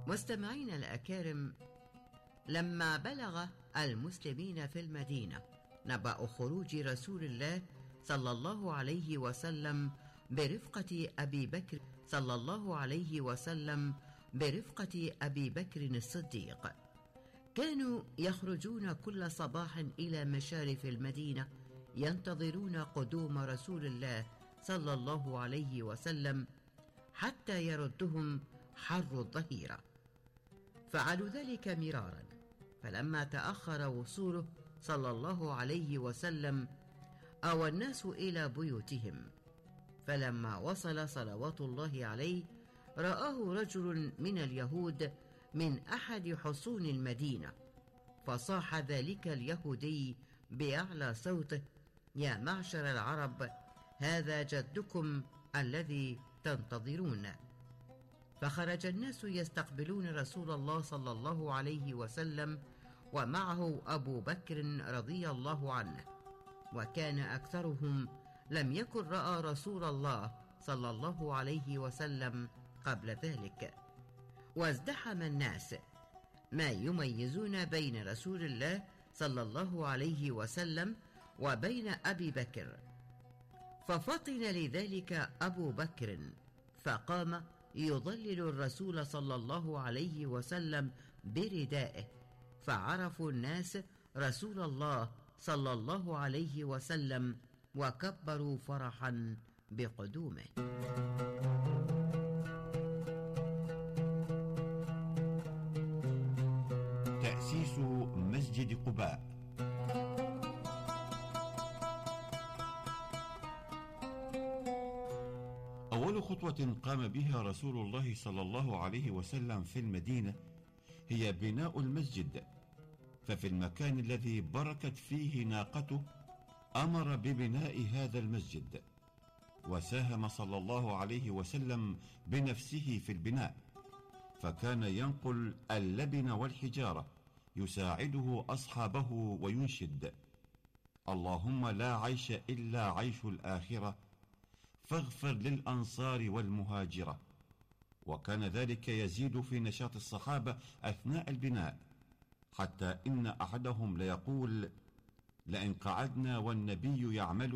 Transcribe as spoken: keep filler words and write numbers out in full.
مستمعين الأكارم، لما بلغ المسلمين في المدينة نبأ خروج رسول الله صلى الله عليه وسلم برفقة أبي بكر صلى الله عليه وسلم برفقة أبي بكر الصديق، كانوا يخرجون كل صباح إلى مشارف المدينة ينتظرون قدوم رسول الله صلى الله عليه وسلم حتى يردهم حر الظهيرة. فعلوا ذلك مرارا، فلما تأخر وصوله صلى الله عليه وسلم أوى الناس إلى بيوتهم، فلما وصل صلوات الله عليه رآه رجل من اليهود من أحد حصون المدينة، فصاح ذلك اليهودي بأعلى صوته: يا معشر العرب، هذا جدكم الذي تنتظرون. فخرج الناس يستقبلون رسول الله صلى الله عليه وسلم، ومعه أبو بكر رضي الله عنه، وكان أكثرهم لم يكن رأى رسول الله صلى الله عليه وسلم قبل ذلك. وازدحم الناس، ما يميزون بين رسول الله صلى الله عليه وسلم وبين أبي بكر، ففطن لذلك أبو بكر فقام يضلل الرسول صلى الله عليه وسلم بردائه، فعرفوا الناس رسول الله صلى الله عليه وسلم وكبروا فرحا بقدومه. تأسيس مسجد قباء. أول خطوة قام بها رسول الله صلى الله عليه وسلم في المدينة هي بناء المسجد، ففي المكان الذي بركت فيه ناقته أمر ببناء هذا المسجد، وساهم صلى الله عليه وسلم بنفسه في البناء، فكان ينقل اللبن والحجارة يساعده أصحابه وينشد: اللهم لا عيش إلا عيش الآخرة، فاغفر للأنصار والمهاجرة. وكان ذلك يزيد في نشاط الصحابة أثناء البناء، حتى إن أحدهم ليقول: لئن قعدنا والنبي يعمل